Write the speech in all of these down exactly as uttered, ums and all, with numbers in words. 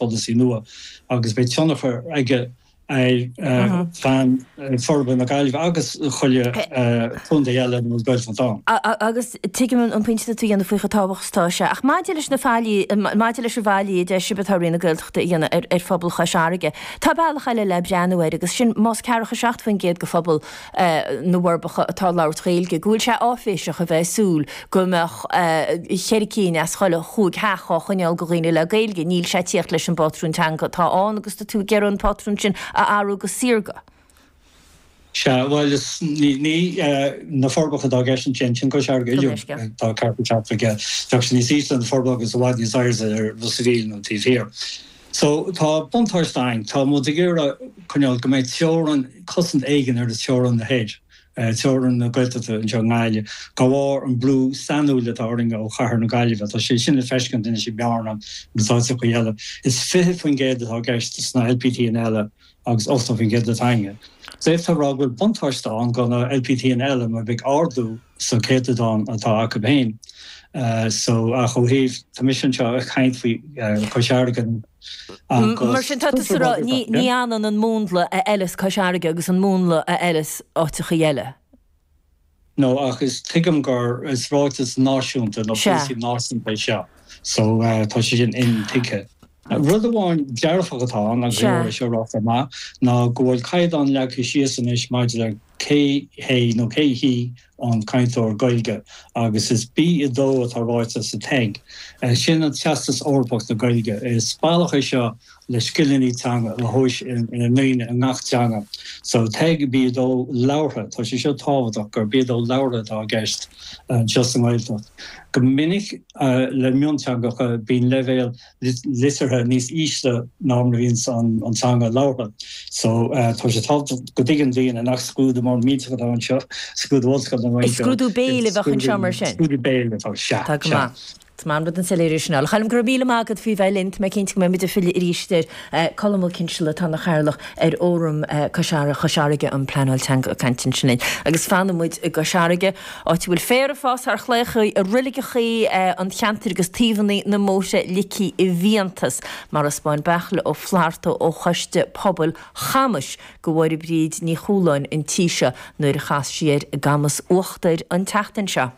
polasaí nua agus beidh tionchar aige ar phlean forbartha na Gaillimhe agus chuile chontae eile ina bhfuil Gaeltacht ann. Agus tuigim an pointe atá tú a dhéanamh faoi chomh tábhachtach is atá sé. Ach maidir leis na faillí, maidir leis an bhfaillí a deir sibh atá Roinn na Gaeltachta a dhéanamh ar ar phobal Chois Fharraige, tá bealach eile le breathnú air agus sin más ceathracha seacht faoin gcéad de phobal na bhForbacha atá ag labhairt Gaeilge, go bhfuil sé áiféiseach a bheith ag súil go mbeadh cheithre cinn as chuile chúig theach á choinneáil do dhaoine le Gaeilge. Níl sé ag tíocht leis an bpátrún teanga atá ann agus tá tú ag iarraidh an pátrún sin a athrú go saorga. Sea, bhuel, is ní ní na Forbacha atá i gceist ansin, sin Cois Fharraige uilig atá ceathracha seacht faoin gcéad. Bheadh sé níos ísle na Forbacha agus i bhfad níos airde ar Ros a' Mhíl nó taobh thiar. So tá buntáiste ann, tá muid ag iarraidh coinneáil go mbeidh teorainn, cosaint éigin ar na teorainn thoir, teorainn na Gaeltachta anseo i nGaillimh, de bharr an brú sainiúil atá orainn ó chathair na Gaillimhe. Tá sé sin le feiscint anois i mBearna agus áiteacha eile. Is fiche faoin gcéad atá i gceist sna LPTanna eile agus ochtó faoin gcéad atá againne. D'fhéadfá a rá go bhfuil buntáiste ann do na LPTanna eile mar beidh ardú sa chéatadán atá acu féin. So ach ó thaobh, tá mise anseo ag caint faoi Chois Fharraige agus. Mar sin tá tusa ag rá ní ionann an múnla a fheileas Cois Fharraige agus an múnla a fheileas áiteachaí eile. No, ach is tuigim gur is ráiteas náisiúnta nó polasaí náisiúnta é seo so tá sé sin intuigthe. Rud amháin dearfach atá ann, agus é seo ráite maith, ná go bhfuil caighdeán leagtha síos anois maidir le cé hé nó cé hí an cainteoir Gaeilge agus is B a dó atá ráite sa TEG. Sin an Teastas Eorpach na Gaeilge. Is bealach é seo le scileanna teanga a thomhas i ndaoine i ngach teanga. So TEG B a dó labhartha, tá sé seo tábhachtach gur B a dó labhartha atá i gceist anseo sa nGaeltacht. Go minic le mionteangacha bíonn leibhéal liteartha níos ísle ná mar a bhíonn an teanga labhartha. So tá sé tábhachtach go dtuigeann daoine nach scrúdú mór millteach atá anseo, scrúdú ollscoile nó Is scrúdú béil a bheadh anseo mar sin. Scrúdú béil atá, sea, Tá go maith. Is maith an rud an soiléiriú sin. A Choilm, go raibh míle maith agat faoi bheith linn. Tá mé cinnte go mbeidh muid ag filleadh arís air. Colm Ó Cinnseala atá ina chathaoirleach ar Fhóram Cois Chois Fharraige um Pleanáil Teanga ag caint ansin linn. Agus fanfaidh muid i gCois Fharraige, áit a bhfuil féar ag fás thar chlaíochaí i roiligeachaí an cheantair agus taobhanna na mbóithre ligthe i bhfiántas, mar a 'spáin Beairtle Ó Flatharta ó Choiste Pobail Chamais do Mháire Bríd Ní Chualáin an tí seo nuair a chas sí air i gCamas Uachtair an tseachtain seo.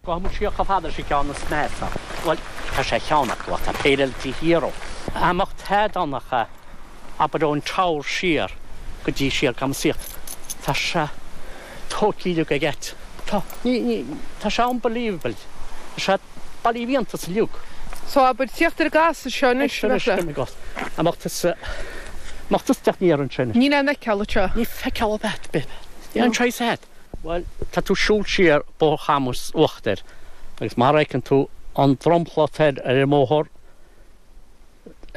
Gabhfaidh muid siar chomh fada leis an gceann is measa. Bhuel, tá sé cheann acu ach tá péire eile taobh thiar dhó. Dá mbeadh tada ann ach abair ón Teamhair siar go dtí siar Camas Íochtar. Tá sé tógtha uilig ag ait. Tá, ní, ní, tá sé unbelievable. Tá sé bailithe i bhfiántas uilig. So abair tíocht ar an gcasadh seo anois, a Bheairtle. Dá mbeadh tusa, dá mbeadh tusa ag teacht aniar ansin. Níl aon fheiceáil anseo. Ní feiceáil ar bith. Níl aon trace agat. Bhuel, tá tú ag siúl siar Bóthar Chamuis Uachtair agus mar a fheiceann tú an dromchla toir ar an mbóthar,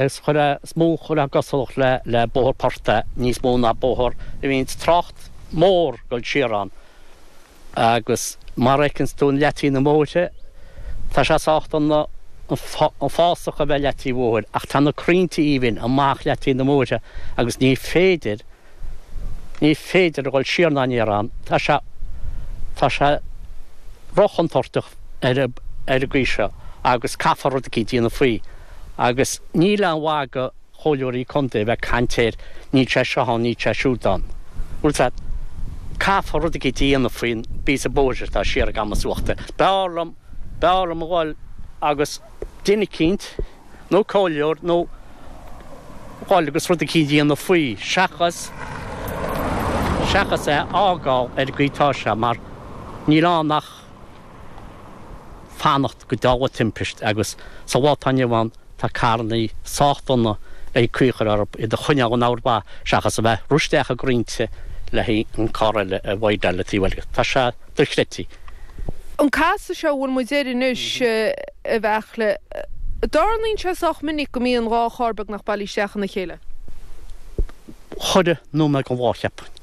is chuir is mó chuir cosúlacht le le bóthar portaigh níos mó ná bóthar a bhíonn trácht mór ag dul siar ann agus mar a fheiceann tú an leataobh na mbóithre, tá sé sách dona an fásach a bheith leataobh bhóthair ach tá na crainnte aoibhinn amach leataobh na mbóithre agus ní féidir Ní féidir a dhul siar ná aniar ann, tá sé, tá sé róchontúirteach ar an, ar an gcaoi seo agus caithfear rud eicínt a dhéanamh faoi. Agus níl aon mhaith do chomhairleoirí contae a bheith ag caint air, níl sé seo ann, níl sé siúd ann. Bhfuil 's agat, caithfear rud eicínt a dhéanamh faoin bpíosa bóthair atá siar i gCamas Uachtair. B'fhearr liom, b'fhearr liom a dhul agus duine eicínt, nó comhairleoir nó dhul agus rud eicínt a dhéanamh faoi seachas seachas é a fhágáil ar an gcaoi atá sé mar níl ann ach fanacht go dtarlóidh timpist agus sa lá atá inniu ann tá carrannaí sách dona ag caoi a chur orthu iad a choinneáil in amharc mhaith seachas a bheith rith isteach i gcrainnte le haghaidh an carr eile a bhfaighdeáil le taobh eile. Tá sé dochreidte. An casadh seo a bhfuil muid air anois, a Bheairtle, an dtarlaíonn sé sách minic go mbíonn dhá charr beagnach bailithe isteach ina chéile? Chuile nóiméad den lá, cheapfainn.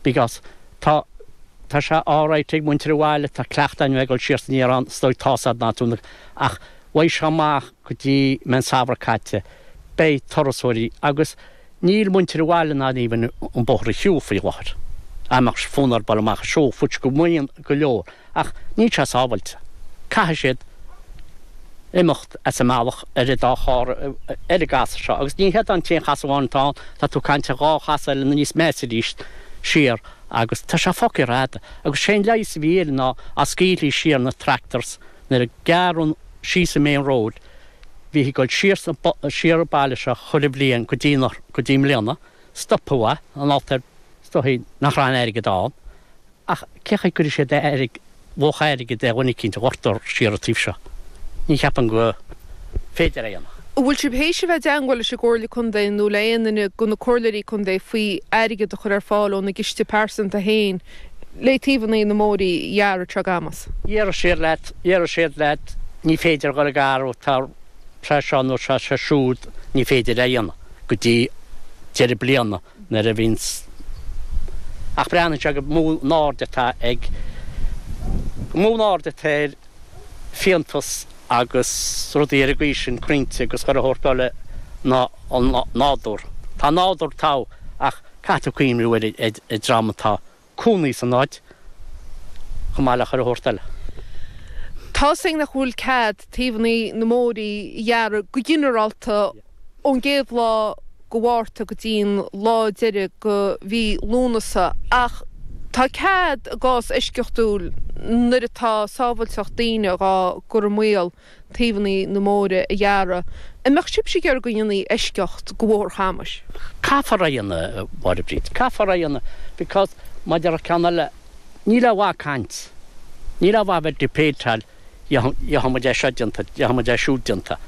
Because tá, tá sé alright ag muintir an bhaile, tá cleachtadh againn a bheith ag dul siar is aniar ann, is dóigh tá's a'd ná tú na, ach uaidh seo amach go dtí mbeidh an samhradh caite, beidh turasóirí agus Níl muintir an bhaile in ann even an bóthar a shiúl faoi láthair. Dá mbeadh fonn orthu dul amach ag siúl, which go mbíonn go leor, ach níl sé sábhailte. Caithfidh siad imeacht as an mbealach ar an dá charr ar an gcasadh seo agus ní hiad an t-aon chasadh amháin atá ann, tá tú ag caint ar dhá chasadh eile níos measa arís siar agus tá sé fágtha rófhada agus sé an leigheas a bhí air ná dá scaoilfí siar na tractors nuair a gearradh síos an main road bhí ag dul siar siar an baile seo chuile bhliain go dtí go dtí i mbliana, stopadh é, an alt ar is dóichí nach raibh an airgead ann. Ach cé chaoi gcuirfidh siad airg, luach airgid ar dhuine eicínt a dhoirtear siar an taobh seo? Ní cheapaim go féidir é a dhéanamh. An bhfuil sibh théis a bheith i dteangmháil leis an gComhairle Contae nó le aon duine de na comhairleoirí contae faoi airgead a chur ar fáil óna gciste pearsanta féin le taobhanna na mbóithrí a ghearradh anseo i gCamus? Déarfaidh siad leat, déarfaidh siad leat, ní féidir a dhul ag gearradh, tá sé seo nó tá sé siúd, ní féidir é a dhéanamh go dtí deireadh bliana nuair a bhíonns. Ach breathnaíonn sé go mó an aird atá ag, go mó an aird atá ar fiántas agus rudaí ar an gcaoi sin, crainnte agus chuile shórt eile ná an nádúr. Tá an nádúr togha ach caithfidh tú cuimhniú ar an dream atá cónaí san áit chomh maith le chuile shórt eile. Tá's againn nach bhfuil cead taobhanna na mbóithrí a ghearradh go ginearálta ón gcéad lá go Mhárta go dtí'n lá deiridh go mhí Lúnasa ach tá cead i gcás eisceachtúil nuair atá sábhailteacht daoine dhá gcur i mbaol taobhanna na mbóithre a ghearradh. An mbeadh sibhse ag iarraidh go ndéanfaí eisceacht go Bhóthar Chamais? Caithfear é a dhéanamh, a Mháire Bríd, caithfear é a dhéanamh because mar a déarfadh ceann eile, níl aon mhaith caint, níl aon mhaith bheith debateáil gheobhaidh muid é seo déanta, gheobhaidh muid é siúd déanta.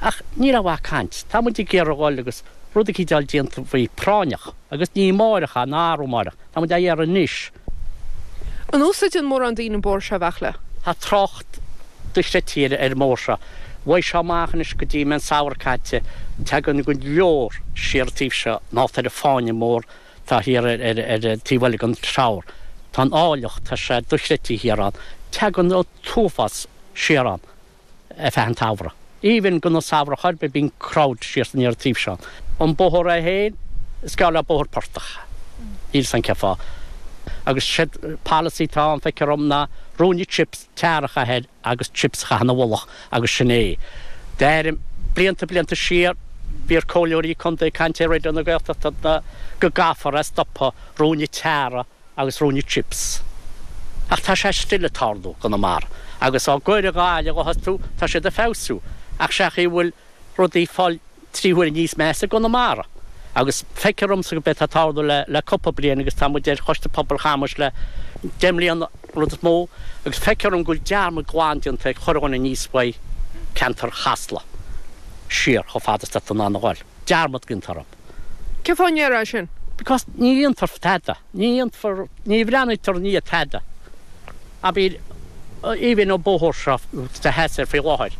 Ach níl aon mhaith caint. Tá muid ag iarraidh dhul agus rud eicínt a fháil déanta faoi práinneach agus ní amáireach é ná arú amáireach. Tá muid á iarraidh anois. An úsáideann mórán daoine an bóthar seo, a Bheachla? Tá trácht dochreidte ar an mbóthar seo. Uaidh seo amach anois go dtí an samhradh caite, tagann go leor siar an taobh seo, an alt ar an fáinne mór atá thiar ar an taobh eile den Treabhar. Tá an áilleacht, tá sé dochreidte thiar ann. Tagann an t-uafás siar ann ar feadh an tsamhraidh. Even gan an samhradh chor ar bith bíonn crowd siar san iar taobh seo. An bóthar é féin, is geall le bóthar portach. Níl 's a'm cén fáth. Agus siad policy atá ann feictear dom ná ruainne chips, tar a chaitheamh air agus chips a chaitheamh ina mhullach agus sin é. Deirim, blianta blianta siar bhí ar comhairleoirí contae ag caint ar Raidió na Gaeltachta ná go gcaithfear é a stopadh ruainne tar a agus ruainne chips. Ach tá sé still ag tarlú i gConamara. Agus á gcur i nGaillimh a thosú, tá siad ag feabhsú. Ach sé chaoi a bhfuil rudaí ag fáil trí huaire níos measa i gConamara. Agus feictear domsa gurb é atá ag tarlú le le cúpla bliain agus tá muid ar Choiste Pobail Chamais le deich mbliana, rud is mó, agus feictear dom go bhfuil dearmad glan déanta ag chuile dhuine aníos uaidh ceantar Chasla siar chomh fada is atá tú in ann a ghoil. Dearmad déanta orthu. Cén fáth a ndéarfá sin? Because ní dhéantar tada. Ní dhéanfar, ní bhreathnaítear i ndiaidh tada. Abair, even an bóthar seo atá theas air faoi láthair,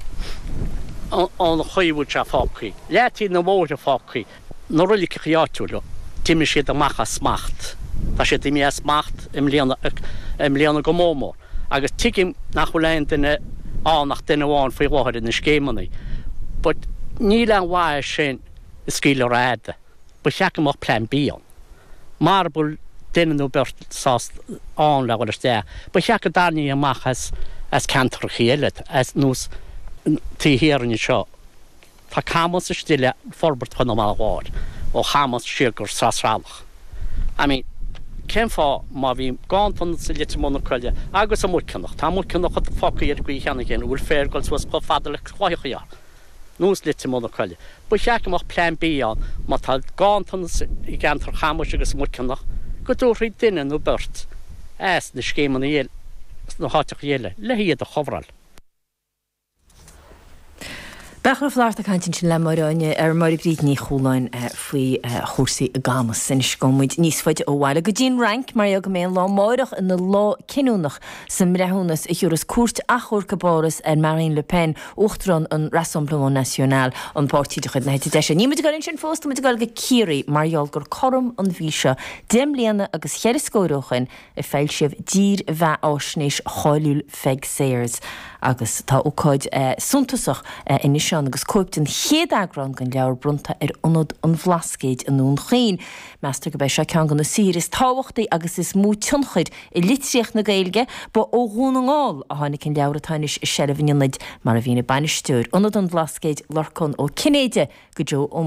an chaoi a bhfuil sé fágtha, leataobh na mbóithre fágtha, na roiliceacha áitiúla, d'imigh siad amach as smacht. Tá siad imithe as smacht i mbliana, i mbliana go mór mór. Agus tuigim nach bhfuil aon duine ann ach duine amháin faoi láthair ina scéimeanna. But níl aon mhaith sin ag scaoileadh rófhada. Ba cheart go mbeadh plean B ann. Mara bhfuil duine nó beirt sásta ann le dhul isteach, ba cheart go dtarraingeofaí amach as as ceantracha eile, as nós taobh thiar anseo. Tá Camus istigh le forbairt Chonamara Láir, ó Chamus siar go Srath Sralach. I mean, cén fáth má bhí ganntanas i Leitir Mór na Coille agus i Muiceanach, tá Muiceanach fágtha ar an gcaoi cheana féin, an bhfuil féar ag dul suas chomh fada le cloicheacha orthu? Nós Leitir Mór na Coille. Ba cheart go mbeadh plean B ann má tá ganntanas i gceantar Chamais agus Muiceanach go dtabharfaí duine nó beirt as na scéimeanna eile sna háiteacha eile le hiad a chofráil. Beachla Ó Flatharta ag caint ansin le Máire Áine ar Máire Bríd Ní Chualáin faoi chúrsaí i gCamus. Anois gabhfaidh muid níos faide ó bhaile go dtí an Fhrainc mar gheall go mbeidh an lá amáireach ina lá cinniúnach sa mbreithiúnas a thiúrfas cúirt achomhairc i bPáras ar Marine Le Pen, Uachtarán an Rassemblement National, an páirtí de chuid na heite deise. Níl muid ag dul ansin fós, tá muid ag dul go Ciarraí mar gheall gur cothrom an mhí seo deich mbliana agus cheithre scór ó shoin a foilsíodh dírbheatháisnéis cháiliúil Pheig Sayers. Agus tá ócáid suntasach anois ann agus cóip den chéad eagrán den leabhar bronnta ar Ionad an Bhlascaoid i nDún Chaoin. Meastar gurb é seo ceann de na saothair is tábhachtaí agus is mó tionchair i litríocht na Gaeilge. Ba ó Dhún na nGall a tháinig an leabhar atá anois i seilbh an Ionaid, mar a mhínigh bainisteoir Ionad an Bhlascaoid, Lorcán Ó Cinnéide, go Joe Ó Muirthile.